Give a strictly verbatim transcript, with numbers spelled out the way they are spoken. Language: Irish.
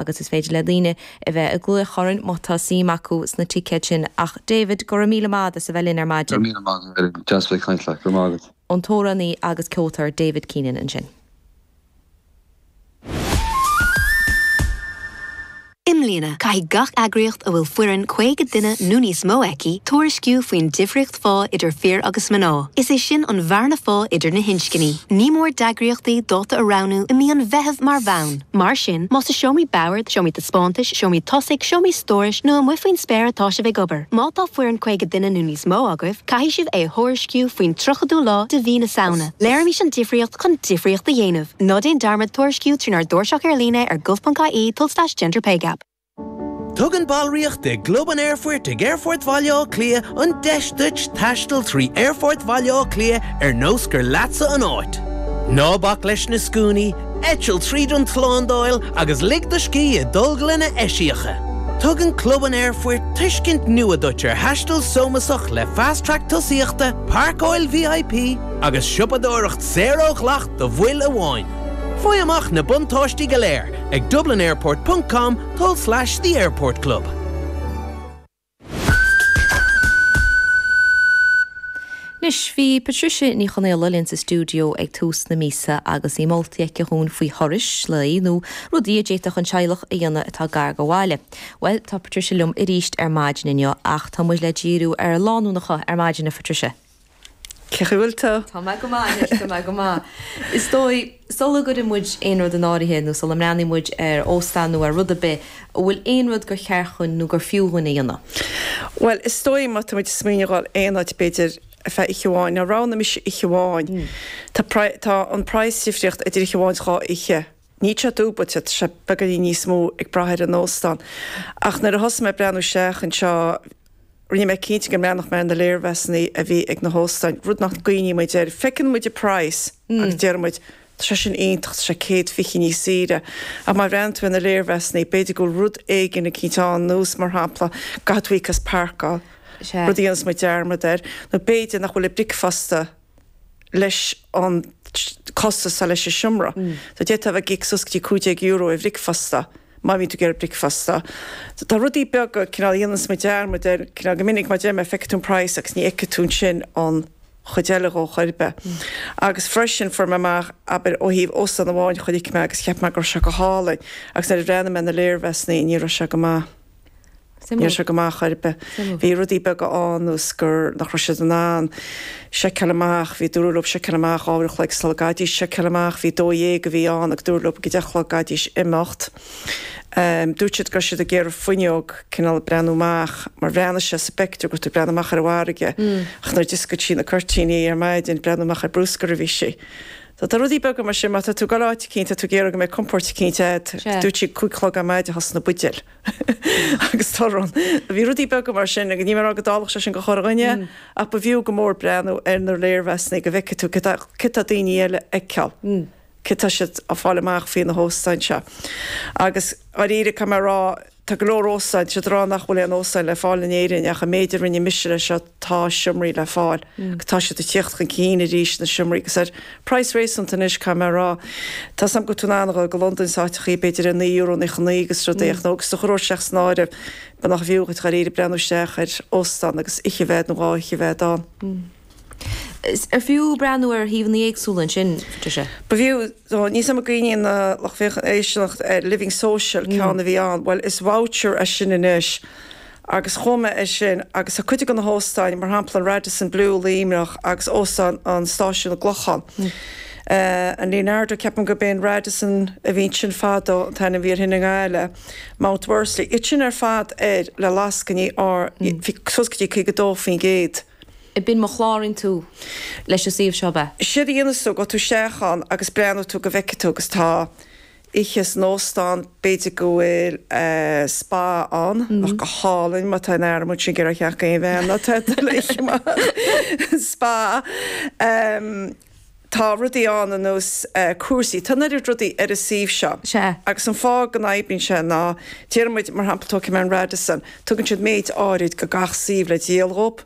Agus is féidir le daoine a bheith ag glaoch orainn má tá suim acu sna ticéid sin. Ach David, go raibh míle maith as a bheith linn ar maidin. Deas bheith caint leat, go maith. An t-amhránaí agus ceoltóir David Keenan ansin. I mbliana, caithfidh gach eagraíocht a bhfuil foireann caoga duine nó níos mó aici tuairisciú faoin difríocht phá idir fir agus mná. Is é sin an bhearna phá idir na hinscní. Ní mór d'eagraíochtaí dáta a roghnú i mí an Mheithimh mar bhonn. Mar sin, más i seomraí boird, seomraí taispeántais, seomraí tosaigh, seomraí stórais nó amuigh faoin spéir atá sibh ag obair. Má tá foireann caoga duine nó níos mó agaibh, caithfidh sibh é a thuairisciú faoin tríochadú lá de mhí na Samhna. Léirímis an difríocht chun difríocht a dhéanamh. Ná déan dearmad tuairisciú trínár dtairseach ar líne ar gov.ie tulslais gender pay gap. Tugann ballraíocht i gClub an Aerfoirt ag Aerfort Bhaile Átha Cliath an deis duit taisteal trí Aerfort Bhaile Átha Cliath ar nós gur leatsa an áit. Ná bac leis na scuainí, eitil tríd an tslándáil agus lig do scíth i dtolglanna eisiacha. Tugann Club an Aerfoirt tuiscint nua duit ar thaisteal sómasach le Fast Track tosaíochta, páirceáil V I P agus siopadóireacht saor ó dhleacht do bhaill amháin. Faigh amach na buntáistí go léir ag dublinairport dot com tulslais the Airport Club. Anois, bhí Patricia Ní Chonaola linn sa stiúideo ag tús na míosa agus í moltaí aici dhúinn faoi thurais lae nó rudaí a d'fhéadfadh an teaghlach a dhéanamh atá gar go bhaile. Well, tá Patricia liom arís ar maidin inniu, ach tá muid le díriú ar lánúnacha ar maidin, a Patricia. Cén chaoi a bhfuil tú? Tá mé go maith, tá mé go maith. Is dóigh sula gcuireann muid aon rud in áirithe nó sula mbreathnaíonn muid ar óstán nó ar rud ar bith, an bhfuil aon rud gur cheart dhúinn nó gur fiú dhúinn a dhéanamh? Well, is dóigh má tá muid ag smaoineamh dhul aon áit b'fhéidir ar feadh oíche amháin, ná roghnaigh mise oíche amháin. Tá tá an praghas difríocht idir oíche amháin is dhá oíche. Níl sé dúbailte, tá sé beagáinín níos mó ag brath ar an óstán. Ach nuair a thosaigh mé ag breathnú isteach anseo, rinne mé cinnte go mbreathnódh mé ar na léirmheasanna a bhí ag na hóstáin, rud nach gcuimhníonn muid air. Feiceann muid an praghas agus deir muid, tá sé sin iontach, tá sé céad fiche níos saoire. Ach má bhreathnaíonn tú ar na léirmheasanna, b'fhéidir go bhfuil rud éigin eicínt ann, nós mar shampla, caithfidh tú íoc as páirceáil, rud a dhéanas muid dearmad air, nó b'fhéidir nach bhfuil an bricfeasta leis an costas leis an seomra. So d'fhéadfá a bheith ag íoc suas go dtí cúig déag euro ar bhricfeasta má bhíonn tú ag iarraidh bricfeasta. So tá rudaí beaga cineál a dhéanas muid dearmad air, cineál go minic mar deir mé, feicfidh tú an praghas agus ní fheicfidh tú ansin an chuid eile dhó chor ar bith. Agus freisin fuair mé amach, abair, ó thaobh óstán amháin a chonaic mé agus cheap mé go raibh sé go hálainn agus nuair a bhreathnaigh mé ar na léirmheasanna ní raibh sé go maith. Ní raibh sé go maith chor ar bith. Bhí rudaí beaga ann nós gur nach raibh siad in ann seiceáil amach, bhí dúradh leo seiceáil amach dhá uair a chloig sula gcaithfidís seiceáil amach, bhí dó dhéag a bhí ann agus dúradh leo ag a deich a chlog gcaithfidís imeacht. Dúirt siad go raibh siad ag iarraidh fuinneog cineál breathnú amach mar bhreathnaigh sé sa bpictiúr go raibh tú ag breathnú amach ar an bhfarraige ach nuair a d'oscail sí na cuirtíní ar maidin breathnú amach ar bruscar a bhí sí. So tá rudaí beaga mar sin má tá tú ag dul áit eicínt tá tú ag iarraidh go mbeidh compord eicínt agat. Dúirt sí cúig a chlog ar maidin a thosnaigh na buidéil agus torann. Bhí rudaí beaga mar sin agus níl mé ag rá go dtarlódh sé sin go corrdhuine ach ba bhfiú go mór breathnú ar na léirmheasanna go bhfeicfidh tú cad tá daoine eile a fheiceáil. Cad tá siad ag fáil amach faoi na hóstáin seo. Agus dáiríre caithfidh mé a rá tá go leor óstáin, siad ag rá nach bhfuil aon óstáin le fáil in Éirinn ach an méid a rinne mise leis seo tá seomraí le fáil. Tá siad ag tíocht chun cinn arís na seomraí agus ar praghas réasúnta anois caithfidh mé a rá. Tá sam go tú an go Londain sáiteachaí b'fhéidir ar naoi euro naocha naoi agus rudaí ach nó agus do chur isteach san áireamh ba nach bhfiú dhuit dáiríre breathnú isteach ar óstán agus oíche bheith nó dhá oíche bheith ann. Ar fiú breathnú ar shuíomhanna éagsúla ansin, Patricia? Ba bhfiú níos am gaoine na lucht féachana éisteacht ar Living Social ceann a bhí ann, well is voucher é sin anois agus chomh maith é sin agus tá cuid de na hóstáin mar shampla an Radisson Blu Luimneach agus óstán an stáisiún i gClochán. Uh, an Leonardo ceapaim gurb é an Radisson a bhí sin fadó an t-ainm a bhí air sin i nGaillimh, Mount Worsley. Iad sin ar fad ar le lascainí ar suas go dtí caoga dó faoin gcéad. B'in má chláraíonn tú leis an suíomh seo be. Séard a dhéanas tú go tú isteach ann agus breathnóidh tú go bhfeicfidh tú agus tá oíche san óstán b'fhéidir go bhfuil uh, spa ann nach go hálainn má tá an arm sin gur cheach aon bhean tá spa. Um, tá rudaí ann ar nós uh, cúrsaí, Tá neart rudaí ar an suíomh seo. Sea. Agus an fáth go n-oibríonn sé ná déarfaidh muid mar shampla tógfaidh mé an Radisson, tugann siad méid áirid go gach suíomh le díol dhóibh.